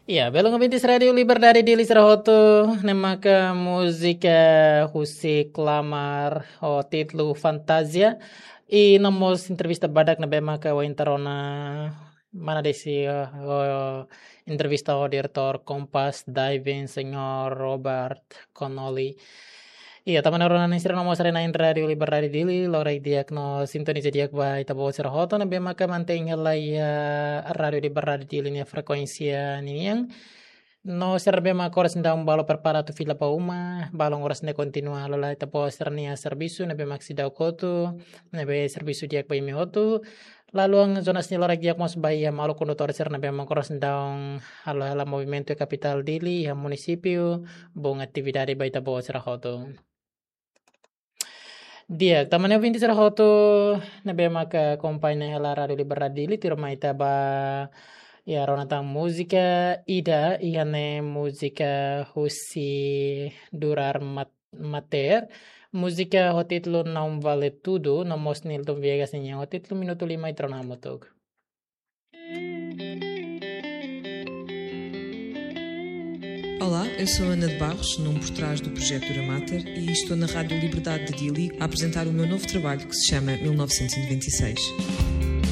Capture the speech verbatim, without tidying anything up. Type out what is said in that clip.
Ya, belun ouvintes Rádiu Liberdade Dili sira hotu, ne'e maka múzika husi Klamar ho títulu Fantasia. I no mós entrevista badak ne'ebé maka wainhira ona mana desi, eh, ho entrevista ho diretór Kompas Diving, Señór Robert Connolly. Iya, tanba ne'e rona sira no mós haree na'in Rádiu Liberdade Dili, lori di'ak no sintoniza di'ak ba ita-boot sira hotu ne'ebé maka mantein hela iha Rádiu Liberdade Dili nia frekuénsia ninian. No sira ne'ebé maka oras ne'e daudaun balu prepara atu fila ba uma, balun oras ne'e kontinua halo lai ita-boot sira-nia servisu ne'ebé maka seidauk kotu, ne'ebé servisu di'ak ba imi hotu. Lalu, zona sini lori di'ak mós ba iha maluk kondutór sira ne'ebé maka oras ne'e daudaun halo hela movimentu iha kapitál Dili, iha munisípiu, bom atividade ba ita-boot sira hotu. Di'ak, tanba ne'e ouvintes sira hotu ne'ebé maka akompaña hela Rádiu Liberdade Dili, tuirmai ita bá rona tan múzika ida, iha ne'e múzika husi Durar Mat-, Mater, múzika ho títulu Não Vale Tudo, no mós Nilton Viegas nian ho títulu Minutu Lima, ita rona hamutuk. Olá, eu sou Ana de Barros, num por trás do projeto Durar Mater, e estou na Rádio Liberdade de Dili a apresentar o meu novo trabalho que se chama mil novecentos e noventa e seis.